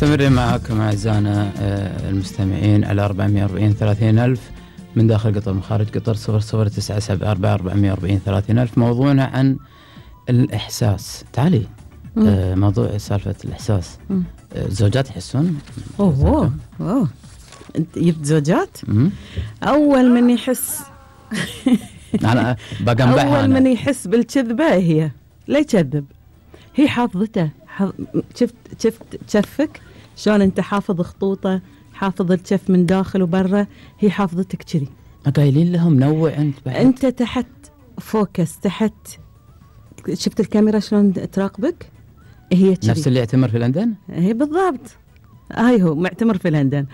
مستمرين معكم أعزائنا المستمعين على 440 30 ألف من داخل قطر من خارج قطر 00974 30 ألف. موضوعنا عن الإحساس. تعالي موضوع سالفة الإحساس. زوجات يحسون؟ أوه أنت جبت زوجات؟ أول من يحس أنا بقنبعها. أول من يحس بالكذبة هي لا يكذب، هي حافظته. شفت شفك شلون أنت حافظ خطوطه، حافظ الشف من داخل وبرا، هي حافظتك كذي. قايلين لهم نوع أنت بعد. أنت تحت فوكس، تحت شفت الكاميرا شلون تراقبك، هي كذي. نفس اللي يعتمر في لندن. هي بالضبط، هاي هو معتمر في لندن.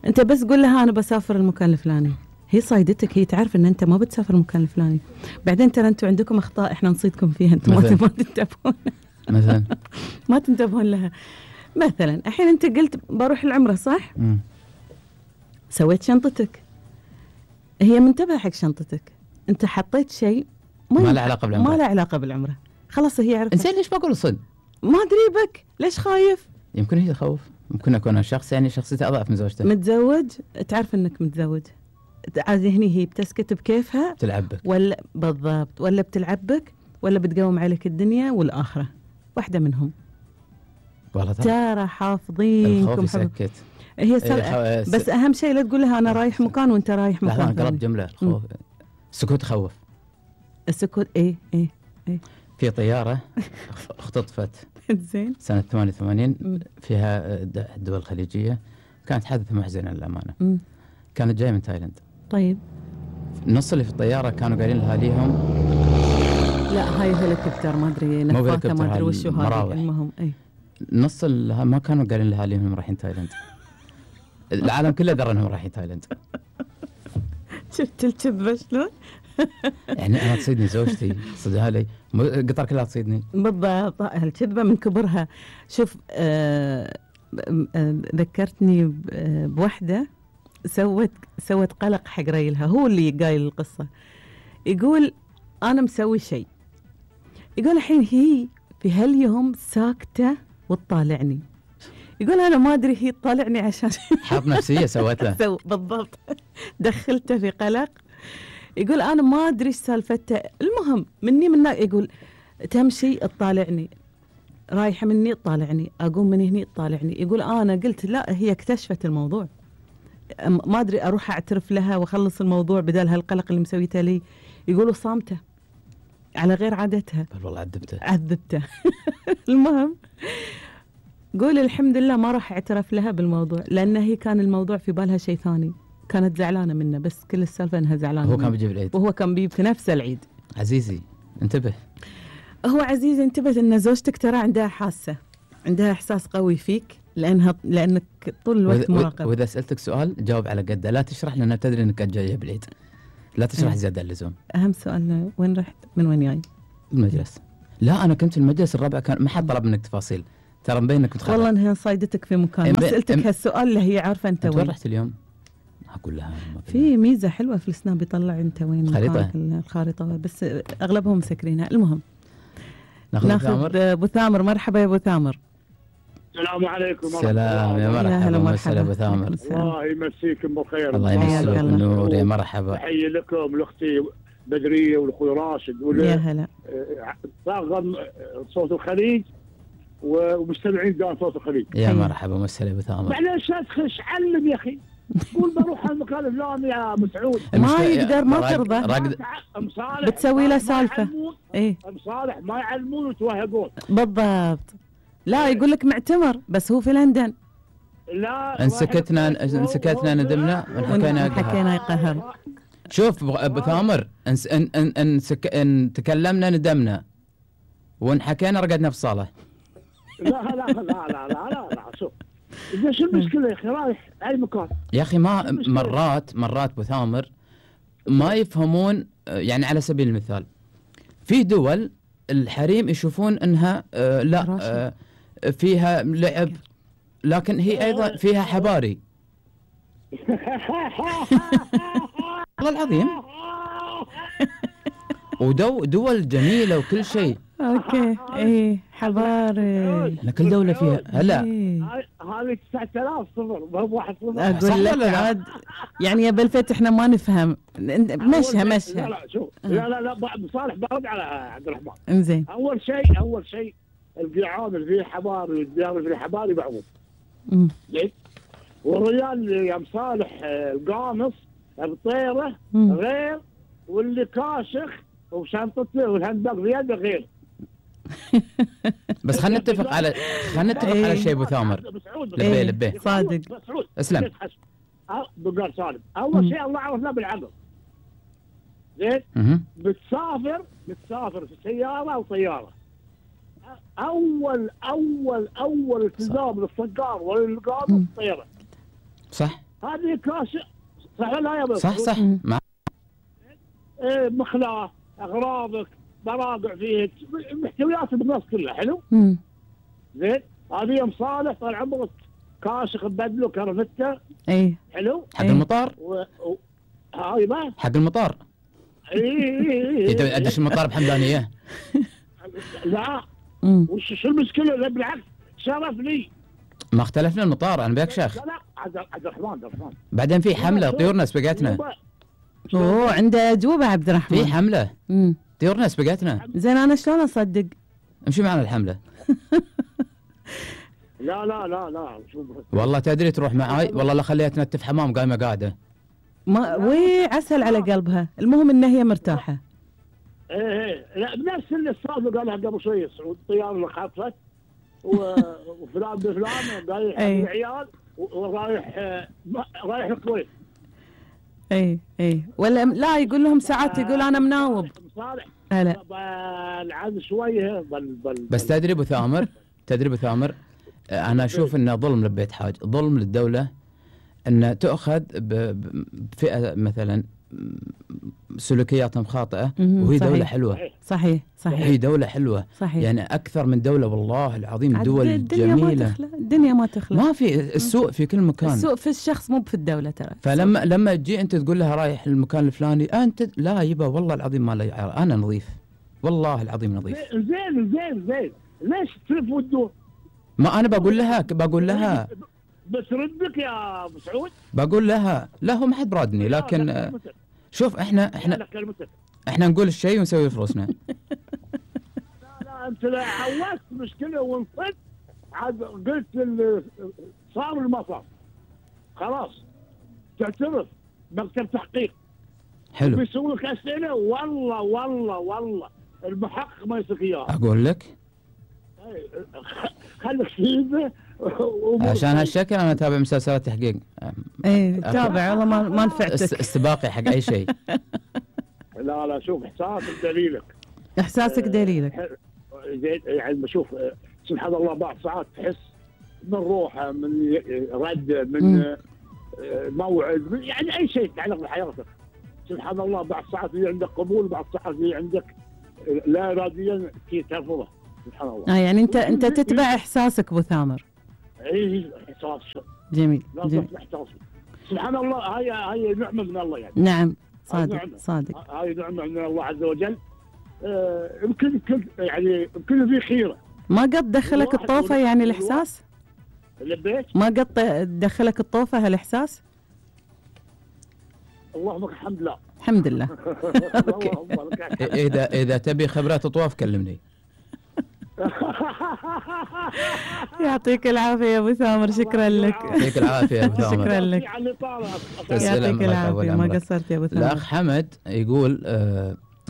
أنت بس قول لها أنا بسافر المكان الفلاني، هي صايدتك، هي تعرف ان انت ما بتسافر المكان الفلاني. بعدين ترى انتم عندكم اخطاء احنا نصيدكم فيها، انتم ما تنتبهون مثلا ما تنتبهون لها. مثلا الحين انت قلت بروح العمره صح؟ سويت شنطتك، هي منتبهه حق شنطتك، انت حطيت شيء ما له علاقه بالعمره، ما له علاقه بالعمره، خلاص هي عرفت. انزين ليش بقول صدق؟ ما ادري بك ليش خايف؟ يمكن هي تخوف، ممكن اكون شخص يعني شخصيته اضعف من زوجته. متزوج، تعرف انك متزوج، عادي هني هي بتسكت بكيفها، بتلعبك ولا بالضبط، ولا بتلعبك، ولا بتقوم عليك الدنيا والآخرة، واحدة منهم. والله ترى حافظينكم. الخوف يسكت. هي بس أهم شيء لا تقول لها أنا رايح مكان وأنت رايح مكان. لا قلب جملة الخوف. السكوت خوف. السكوت إيه. في طيارة اختطفت زين سنة 88 فيها الدول الخليجية، كانت حادثة محزنة للأمانة. كانت جاية من تايلاند. طيب النص اللي في الطيارة كانوا قايلين لأهاليهم لا هاي هليكوبتر ما أدري نفاثة ما أدري وشو هذا، المهم نص ما كانوا قايلين لأهاليهم رايحين تايلاند. العالم كله درى انهم رايحين تايلاند. شفت الكذبة شلون؟ يعني أنا تصيدني زوجتي صدها لي، قطر كلها تصيدني. بالضبط، الكذبة من كبرها. شوف ذكرتني بوحدة سوت قلق حق ريلها، هو اللي قايل القصة. يقول أنا مسوي شيء، يقول الحين هي في هاليوم ساكتة وتطالعني، يقول أنا ما أدري هي تطالعني عشان حرب نفسية سوت له. بالضبط، دخلته في قلق. يقول أنا ما أدري إيش سالفته، المهم مني يقول تمشي تطالعني، رايحة مني تطالعني، أقوم من هني تطالعني. يقول أنا قلت لا هي اكتشفت الموضوع، ما أدري أروح أعترف لها وأخلص الموضوع بدل هالقلق اللي مسويته لي. يقولوا صامتة على غير عادتها. بل والله عذبته. المهم قول الحمد لله ما راح اعترف لها بالموضوع، لأن هي كان الموضوع في بالها شيء ثاني، كانت زعلانة منه، بس كل السالفة أنها زعلانة. هو كان بيجيب العيد، وهو كان بيجيب في نفس العيد. عزيزي انتبه، هو عزيزي انتبه إن زوجتك ترى عندها حاسة، عندها إحساس قوي فيك، لأنك طول الوقت مراقب. وإذا سألتك سؤال جاوب على قده، لا تشرح لأنها تدري إنك جاية بالعيد، لا تشرح زيادة اللزوم. أهم سؤال وين رحت؟ من وين جاي؟ المجلس. لا أنا كنت في المجلس الرابع، كان ما حد طلب منك تفاصيل، ترى مبين إنك متخرج. والله إنها صايدتك في مكان، ما سألتك هالسؤال اللي هي عارفة أنت وين رحت اليوم. أقول لها في ميزة حلوة في السناب يطلع أنت وين الخريطة، بس أغلبهم مسكرينها. المهم ناخذ أبو ثامر. مرحبا يا أبو ثامر. السلام عليكم. سلام يا مرحبا، مرحبا ابو ثامر. الله يمسيكم بالخير. الله يمسيك بالنور يا مرحبا. تحيه لكم لاختي بدريه والاخوي راشد يا هلا. طاقم صوت الخليج ومستمعين دائما صوت الخليج. يا مرحبا ومسهلا ابو ثامر. معليش ادخل علم يا اخي، قول بروح المكان الفلاني يا مسعود. ما يقدر، ما ترضى، بتسوي له سالفه. ايه مصالح ما يعلمون ويتوهقون. بالضبط. لا يقول لك معتمر بس هو في لندن. لا ان سكتنا ندمنا حكينا يقهر. شوف ابو ثامر، ان تكلمنا ندمنا، وان حكينا رقدنا في الصاله. لا شوف شو المشكله يا اخي، رايح اي مكان يا اخي. ما مرات ابو ثامر ما يفهمون. يعني على سبيل المثال في دول الحريم يشوفون انها لا فيها لعب، لكن هي ايضا فيها حباري. والله العظيم. ودول جميله وكل شيء. اوكي ايه حباري. كل دوله فيها. هلا هذه 9000 صفر ما هو 1 صفر. اقول لك عاد يعني يا بالفت احنا ما نفهم. مشها لا مشها. لا شوف لا أبو صالح برد على عبد الرحمن. انزين. اول شيء القيعان اللي فيه حباري والديار اللي فيه حباري بعوض. زين. والرجال يا مصالح القامص بطيره غير، واللي كاشخ وشنطته والهندق بيده غير. بس خلينا نتفق على شيء ابو ثامر. لبيه صادق. اسلم. بقال سالم اول شيء الله عرفنا بالعقل. زين. بتسافر في سياره او طياره، اول التزام للصقار والقام الطياره. صح. هذه كاشف صح ولا يا بس؟ صح. مخلاه، اغراضك، مراقع فيه، محتويات الناس كلها. حلو. زين. هذه يوم صالح طال عمرك كاشخ بدله كرفته. اي حلو. حق المطار. هاي ما حق المطار. اي ادش المطار بحمدانيه. لا وش المشكله؟ لا بالعكس شرف لي. ما اختلفنا المطار، انا بيك شيخ. لا عبد الرحمن بعدين في حمله طيورنا سبقتنا. عنده اجوبه عبد الرحمن. في حمله طيورنا سبقتنا. زين انا شلون اصدق؟ امشي معنا الحمله. لا والله تدري تروح معاي والله لا خليها تنتف حمام قايمه قاعده. ما عسل على قلبها، المهم ان هي مرتاحه. ايه لا بنفس اللي الصادق قالها قبل شوي سعود. الطياره اللي خافت وفلان بفلان رايح العيال رايح الكويت. اي ولا لا يقول لهم ساعات يقول انا مناوب. صالح هلا العاد شويه بس تدري ابو ثامر انا اشوف انه ظلم لبيت حاج، ظلم للدوله ان تؤخذ بفئه مثلا سلوكياتهم خاطئه وهي صحيح. دوله حلوه. صحيح هي دوله حلوه. صحيح. يعني اكثر من دوله والله العظيم دول جميله. الدنيا ما تخلى. ما في السوء في كل مكان. السوء في الشخص مو في الدوله ترى. فلما تجي انت تقول لها رايح المكان الفلاني انت لا يبا والله العظيم ما له انا نظيف والله العظيم نظيف. زين ليش تلف وتدور؟ ما انا بقول لها بس ردك يا ابو سعود. بقول لها لا هو ما حد برادني، لكن شوف احنا نقول الشيء ونسوي فلوسنا. لا انت لا عودت مشكله ونصت عاد قلت صار المصاب خلاص تعترف مكتب تحقيق. حلو. بيسوي لك اسئله والله المحقق ما يسوي اياها. اقول لك خليك سيده عشان هالشكل انا اتابع مسلسلات تحقيق. تابع والله ما نفعتك. استباقي حق اي شيء. لا شوف احساسك دليلك. يعني بشوف سبحان الله بعض ساعات تحس من روحه من رد من موعد يعني اي شيء يتعلق بحياتك. سبحان الله بعض ساعات اللي عندك قبول بعض ساعات اللي عندك لا اراديا ترفضه. سبحان الله. يعني انت تتبع احساسك ابو ثامر. اي احساس جميل. سبحان الله. هاي نعمه من الله يعني. نعم صادق. هاي نعمه من الله عز وجل. يمكن يمكن في خيره. ما قد دخلك الطوفه يعني الاحساس؟ لبيت؟ ما قد دخلك الطوفه هالاحساس؟ اللهم الحمد لله. الحمد لله. اذا تبي خبرات طواف كلمني. يعطيك العافيه يا ابو ثامر. شكرا لك. يعطيك العافيه يا ابو ثامر. شكرا لك. يعطيك العافيه ما قصرت يا ابو ثامر. الاخ حمد يقول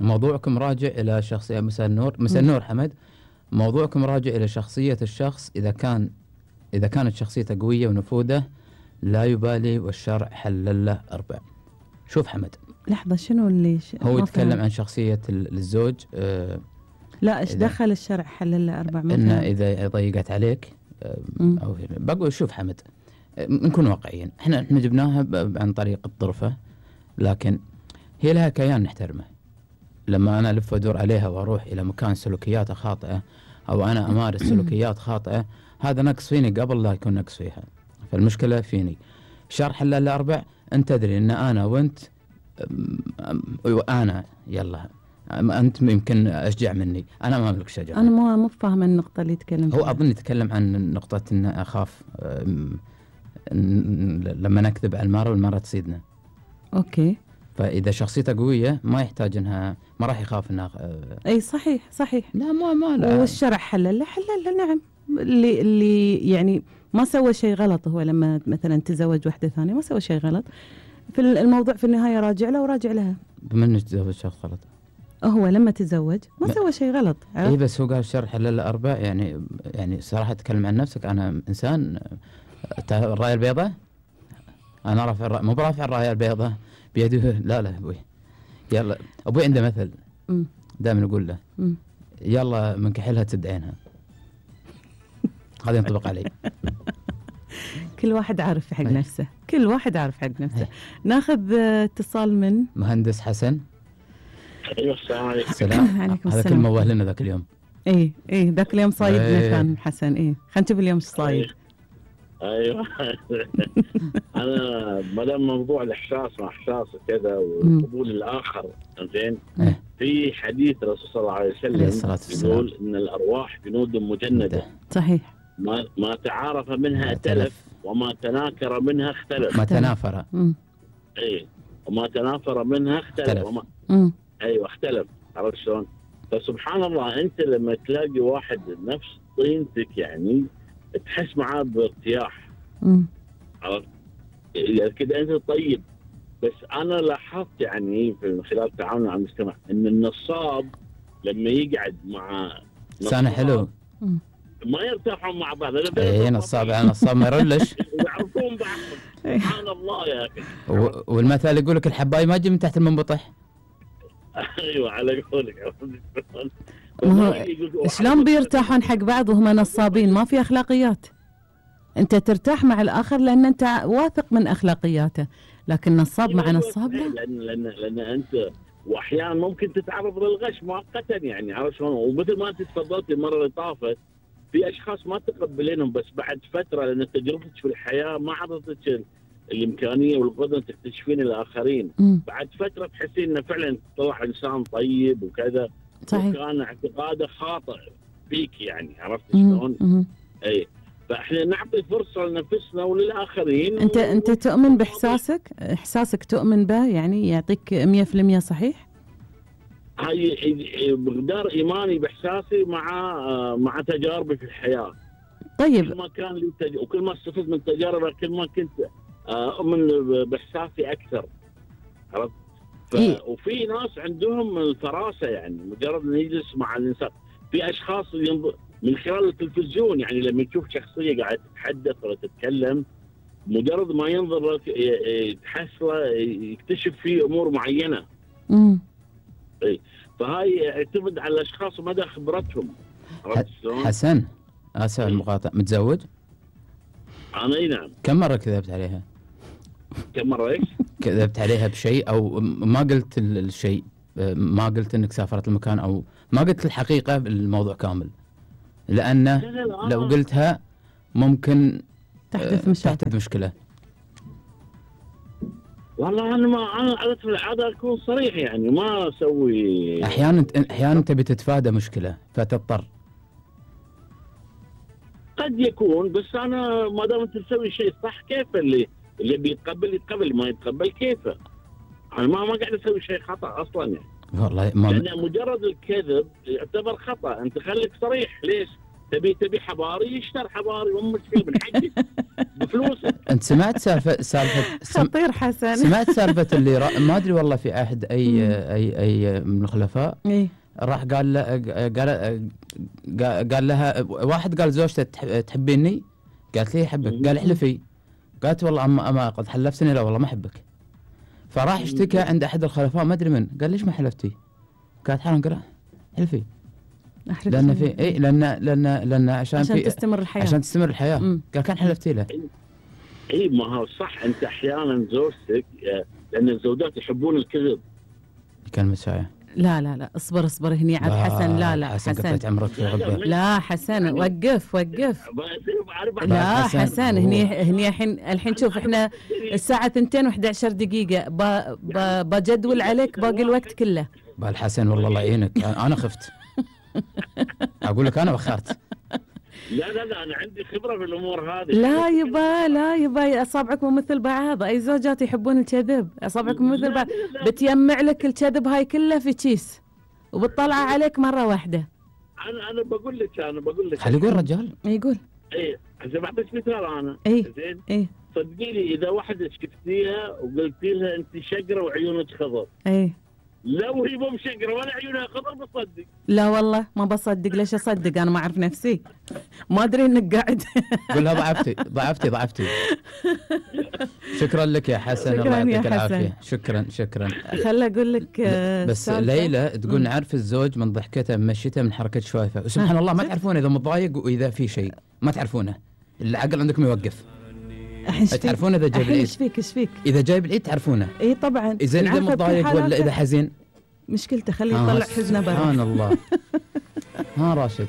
موضوعكم راجع الى شخصيه. مساء النور حمد. موضوعكم راجع الى شخصيه الشخص. اذا كانت شخصيته قويه ونفوذه لا يبالي والشرع حلل له 4. شوف حمد لحظه شنو اللي هو يتكلم عن شخصيه الزوج. لا ايش دخل الشرع حلل له 4 مثلا؟ انه اذا ضيقت عليك او بقول شوف حمد نكون واقعيين. احنا جبناها عن طريق الطرفه، لكن هي لها كيان نحترمه. لما انا الف وادور عليها واروح الى مكان سلوكياته خاطئه او انا امارس سلوكيات خاطئه، هذا نقص فيني قبل لا يكون نقص فيها. فالمشكله فيني. شرع حلل له 4. انت تدري ان انا وانت انا يلا أنت يمكن أشجع مني، أنا ما أملك شجاعة. أنا مو فاهمة النقطة اللي يتكلم هو فيها. أظن يتكلم عن نقطة إن أخاف لما نكذب على المرأة والمرأة تصيدنا. أوكي. فإذا شخصيته قوية ما يحتاج إنها، ما راح يخاف إنها. أي صحيح. لا ما لا. والشرع حلل نعم. اللي يعني ما سوى شيء غلط، هو لما مثلا تزوج واحدة ثانية ما سوى شيء غلط، في الموضوع في النهاية راجع له وراجع لها. بما إنه تزوج شخص غلط، هو لما تزوج ما سوى شيء غلط. إيه بس هو قال الشرع حلل 4. يعني صراحة تكلم عن نفسك، أنا إنسان الراية البيضاء، أنا رافع مو برافع الراية البيضاء بيده. لا أبوي، يلا أبوي عنده مثل دائما يقول له يلا من كحلها تسد عينها. هذا ينطبق علي. كل واحد عارف حق نفسه، ناخذ اتصال من مهندس حسن. ايوه السلام عليكم. السلام عليكم. هذا كل ما وهلنا ذاك اليوم. ايه ذاك اليوم صايدنا كان حسن. خلينا نشوف اليوم ايش صايد. ايوه. انا ما دام موضوع الاحساس مع احساس كذا وقبول الاخر، زين. في حديث الرسول صلى الله عليه وسلم يقول ان الارواح جنود مجنده. صحيح. ما تعارف منها ائتلف، وما تناكر منها اختلف. ما تنافر. وما تنافر منها اختلف. ايوه اختلف. عرفت شلون؟ فسبحان الله انت لما تلاقي واحد نفس طينتك يعني تحس معاه بارتياح. عرفت؟ يعني كده انت طيب. بس انا لاحظت يعني في خلال تعاملي مع المجتمع ان النصاب لما يقعد مع لسانه حلو ما يرتاحون مع بعض. نصاب على نصاب ما يرلش. يعرفون بعض. سبحان الله يا اخي. والمثل يقول لك الحباي ما تجي من تحت المنبطح. ايوه على قولك. شلون بيرتاحون حق بعض وهم نصابين؟ ما في اخلاقيات. انت ترتاح مع الاخر لان انت واثق من اخلاقياته، لكن نصاب مع نصاب لا. لان انت واحيانا ممكن تتعرض للغش مؤقتا يعني. عرفت شلون؟ ومثل ما انت تفضلت المره اللي طافت، في اشخاص ما تقبلينهم، بس بعد فتره لان تجربتك في الحياه ما عطتك الامكانيه والقدره تكتشفين الاخرين. بعد فتره تحسين انه فعلا طلع انسان طيب وكذا. صحيح. وكان اعتقاده خاطئ فيك يعني. عرفت شلون؟ اي فاحنا نعطي فرصه لنفسنا وللاخرين. انت تؤمن باحساسك؟ احساسك تؤمن به يعني يعطيك 100% صحيح؟ هاي بقدر ايماني باحساسي مع تجاربي في الحياه. طيب. كل ما كان لي وكل ما استفدت من تجاربي كل ما كنت اؤمن باحساسي اكثر. عرفت؟ وفي ناس عندهم الفراسه يعني مجرد انه يجلس مع الانسان. في اشخاص من خلال التلفزيون يعني لما تشوف شخصيه قاعده تتحدث ولا تتكلم، مجرد ما ينظر لك تحصله يكتشف فيه امور معينه. فهاي يعتمد على الاشخاص ومدى خبرتهم. حسن اسف على المقاطعه، متزوج؟ انا اي نعم. كم مره كذبت عليها؟ كم مره ايش؟ كذبت عليها بشيء او ما قلت الشيء، ما قلت انك سافرت المكان او ما قلت الحقيقه بالموضوع كامل، لانه لو قلتها ممكن تحدث مشكله. والله انا عادة العاده اكون صريح يعني ما اسوي. احيانا تبي تتفادى مشكله فتضطر. قد يكون، بس انا ما دام انت تسوي شيء صح كيف اللي يتقبل ما يتقبل كيفه. انا ما قاعد اسوي شيء خطا اصلا يعني. والله لان مجرد الكذب يعتبر خطا. انت خليك صريح. ليش؟ تبي حباري يشتر حباري ومشكله من حقك بفلوسك. انت سمعت سالفه خطير حسن. سمعت سالفه اللي ما ادري والله في احد اي من الخلفاء راح قال لها واحد، قال زوجته تحبيني؟ قالت لي احبك. قال احلفي. قالت والله اما قد حلفتني. لا والله ما احبك. فراح اشتكى عند احد الخلفاء ما ادري من، قال ليش ما حلفتي؟ قالت حرام. قال احلفي. لان في لان عشان تستمر الحياه. عشان تستمر الحياه. قال كان حلفتي له. اي ما هو صح. انت احيانا زوجتك لان الزوجات يحبون الكذب. كلمة ساعة. لا اصبر هني عاد حسن. لا حسن عمرك في غبة. لا حسن وقف. لا حسن هني الحين شوف احنا الساعة 2:11 دقيقة بجدول عليك باقي الوقت كله. بالحسن والله الله يعينك، انا خفت. اقول لك انا بخرت. لا انا عندي خبره في الامور هذه. لا يبا اصابعك مو مثل بعض. اي زوجات يحبون الكذب، اصابعك مو مثل بعض. بتيمع لك الكذب هاي كله في كيس وبتطلع عليك مره واحده. انا بقول لك خلي يقول رجال. يقول ايه هسه بعطيك مثال انا. زين ايه صدقيني اذا واحده شفتيها وقلتي لها انت شقره وعيونك خضر، لو هي مو مشقره ولا عيونها خضر بتصدق. لا والله ما بصدق. ليش اصدق؟ انا ما اعرف نفسي، ما ادري انك قاعد. قول لها ضعفتي. شكرا لك يا حسن، الله يعطيك العافيه. شكرا. خلي اقول لك بس ليلى تقول نعرف الزوج من ضحكته من مشيته من حركه شفايفه، وسبحان الله ما تعرفونه اذا متضايق واذا في شيء ما تعرفونه، العقل عندكم يوقف. تعرفون اذا جايب العيد؟ ايش فيك؟ اذا جايب العيد تعرفونه. اي طبعا. اذا انت متضايق ولا اذا حزين مشكلته خليه يطلع حزنه برا. سبحان الله. ها راشد